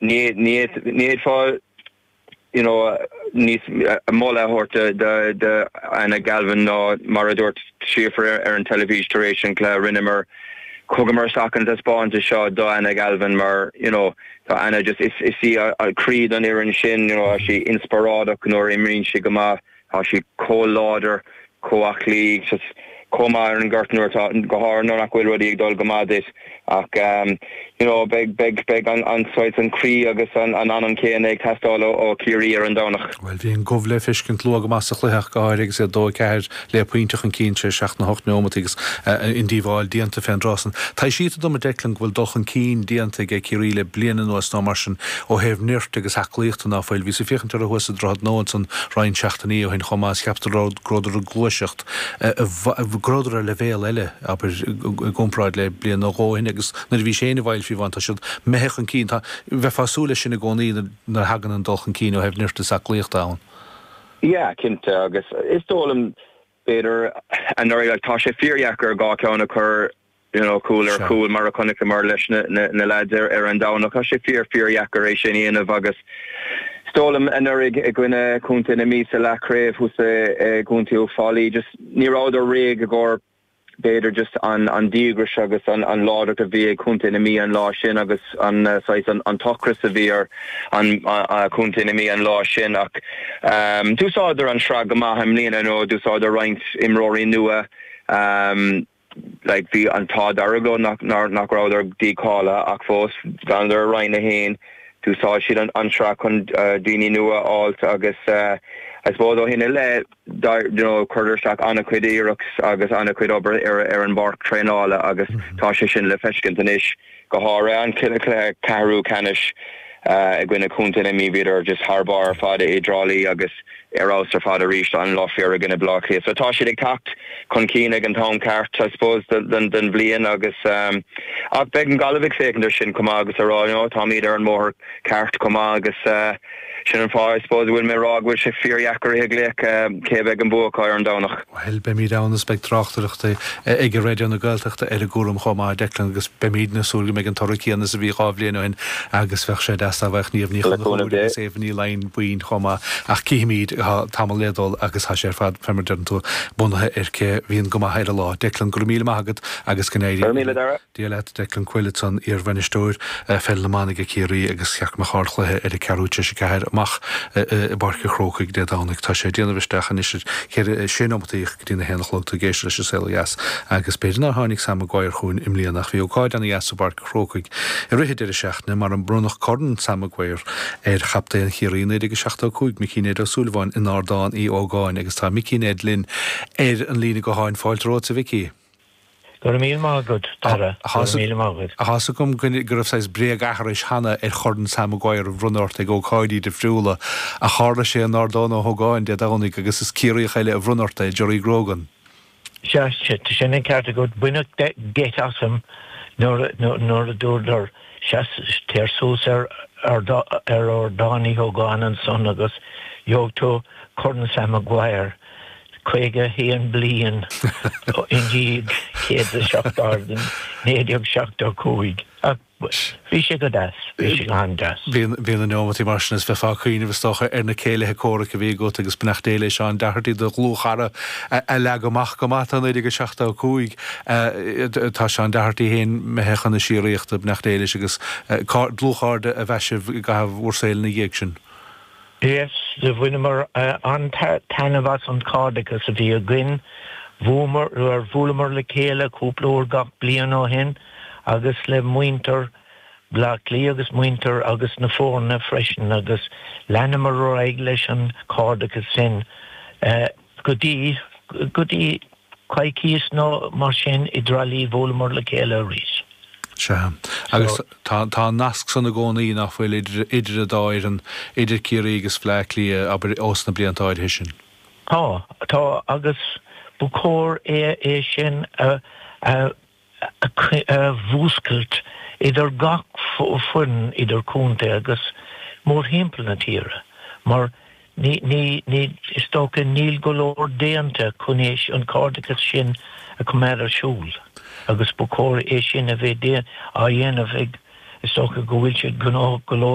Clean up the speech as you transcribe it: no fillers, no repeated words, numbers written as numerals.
Ní ní fhéadfá you know níos moladh a thabhairt do do Anna Galvin ná mar a dúirt Síofra ar an teilifís tar éis an chluiche rinneamar thugamar isteach an taispeántas seo do Anna Galvin mar you know tá Anna just is is í an croí don fhoireann sin you know tá sí inspioráideach nuair a imríonn sí go maith Tá sí chomh láidir, chomh aclaí, just chomh maith ar an ngort nuair atá, go háirithe nuair nach bhfuil rudaí ag dul go maith duit. Ach you know beidh, beidh, beidh an, an saghas, an croí agus an, an anam céanna ag teastáil ó, ó Chiarraí ar an Domhnach. Bhuel, bhí an gomh le feiscint luath go maith sa chluiche ach go háirithe agus iad 2-4 le pointe chun cinn tar éis seacht nó hocht neomat agus an díobháil déanta fén dtráth san. Taibhsítear dom, a Declan, go bhfuil dul chun cinn déanta ag Ciarraí le bliain anuas nó mar sin ó thaobh nirt agus aclaíochta ná fuil. Bhíos ag féachaint orthu thuas i Droichead Nua ansan roinnt seachtainí ó shin chomh maith is cheapas go rabhadar ag gluaiseacht, go rabhadar ar leibhéal eile, abair, i gcomparáid le bliain nó dhó ó shin agus nuair a bhís féin i bhFaill fiú amháin. Tá siad imithe chun cinn. Tá, bheifeá ag súil leis sin i gcónaí nuair a thagann an dul chun cinn ó thaobh nirt is aclaíochta ann. Yeah, cinnte, agus is dóigh liom, b'fhéidir, anuraidh, like, tá sé fíordheacair dhá cheann a chur you know, cúl ar chúl mar a chonaiceamar leis na leaids ar an Domhnach. Tá sé fíor, fíordheacair é sin a dhéanamh agus is dóigh liom anuraidh i gcoinne Chontae na Mí sa leathchraobh thuas i gContae Uíbh Fhailí, just ní rabhadar réidh i gcomhair b'fhéidir just an an díograis agus an an láidreacht a bhí ag Contae na Mí an lá sin agus an saghas an an t-ocras a bhí ar an Contae na Mí an lá sin ach d'úsáideadar an sraith go maith i mbliana, you know, d'úsáideadar roinnt imreoirí nua. Like bhí an t-ádh dearg leo nach nach rabhadar dícháilithe ach fós d'fhanadar i Roinn 1. D'úsáid siad an an tsraith chun daoine nua a fháilt agus I suppose ó shin i leith you know chuireadar isteach an-chuid iarracht agus an-chuid obair ar ar an bpáirc traenála agus tá sé sin le feiscint anois. Go háirithe an cluiche ceathrú ceannais i gcoinne Chontae na Mí, bhíodar just thar barr ar fad i dTrá Lí agus ar fheabhas ar fad arís an lá faoi dheireadh i gcoinne Bleá Cliath. So tá siad ag teacht chun cinn ag an t-am ceart I suppose den bhliain agus ach beidh an Ghaillimh ag féachaint ar sin chomh maith agus a rá you know táimid ar an mbóthar ceart chomh maith agus sin an fáth I suppose a bhfuil mé ag rá go bhfuil sé fíordheacair a ghlaoch cé a bheidh an bua acu ar an Domhnach. Bhuel, beimid ann is beidh tráchtaireacht ag Raidió na Gaeltachta ar an gcúram chomh maith, Declan, agus beimidne ag súil go mbeidh an toradh céanna is a bhí 2 bhliain ó shin agus bheadh sé deas dá bhfaigheadh Niamh Ní Chonchúir agus Éabha Ní Laighin boinn chomh maith. Ach cífimid, tá tamall le dul agus tá sé ar fad, fé mar a deireann tú, bunaithe ar cé bhíonn go maith ar an lá. Declan, go raibh míle maith agat agus go n-éirí. Go raibh míle, Dara. Dia leat, Declan Coyle ansan, iar-bhainisteoir pheil na mban ag Ciarraí agus cheart go mbeadh ardchluiche ar a ceathrú tar éis a ceathair amach i bPáirc an Chrócaigh Dé Domhnaigh. Tá sé ag déanamh isteach anois ar cheithre, sé nóimeataí go dtí na haon a chlog. Tú ag éisteacht leis An Saol Ó Dheas agus b'fhéidir nár tháinig Sam Maguire chugainn i mbliana ach bhí ócáid ana-dheas i bPáirc an Chrócaigh i rith an deireadh seachtaine mar a bronnadh Corn Sam Maguire ar chaptaen Chiarraí 1975, Micí Ned Ó Súilleabháin in Ardán Uí Ógáin agus tá Micí Ned linn ar an líne gutháin. Fáilte romhat a Mhicí. Go raibh míle maith agat, Dara. Go raibh míle maith agat. Tá 'fhios agam go raibh saghas bréag-aithris cheana ar Chorn Sam Maguire a bhronnadh ort ag ócáidí difriúla, ach tharla sé in Ardán Ó hÓgáin Dé Domhnaigh agus is Ciarraíoch eile a bhronn ort é, Gerry Grogan. Sea, tá sin an ceart agat. Baineadh geit asam nuair a dúradar, Seas, téir suas ar Ardán Uí Hógáin ansan agus gheobhaidh tú Corn Sam Maguire. 51 bliain i ndiaidh 107 1975. Ach bhí sé go deas, bhí sé go han-deas. Bíonn na neomataí mar sin is bheifeá ag cuimhneamh is dócha ar na céilithe comhraic a bhí agat agus beannacht Dé le Seán Doherty, do dhlúthchara a leag amach go maith tá 1975. Tá Seán Doherty féin imithe chun na síoraíochta, beannacht Dé leis agus dlúthchairde ab ea sibh i gcaitheamh bhur saoil ina dhiaidh sin. Yes, do bhaineamar an-taitneamh as an chairdeachas a bhí againn. Bhuamar, bhuaileamar le chéile cúpla uair gach bliain ó shin agus le muintir Bhleá Cliath agus muintir agus na foirne freisin agus leanamar ar aghaidh leis an chairdeachas sin go dtí, go dtí coicíos nó mar sin i dTrá Lí bhuaileamar le chéile arís. Sea. Agus tá, tá an nasc san i gcónaí, nach bhfuil, idir, idir an dá fhoireann, idir Ciarraí agus Bleá Cliath, abair, ós na blianta áirithe sin. Tá, tá, agus ba chóir é, é sin a, a, a mhúscailt idir gach foireann idir contae agus mórthimpeall na tíre, mar Ní, ní, ní, is dócha níl go leor déanta chun é, an cairdeachas sin a choimeád ar siúl agus ba chóir é sin a bheith á dhéanamh ag, is dócha go bhfuil siad gnóthach go leor.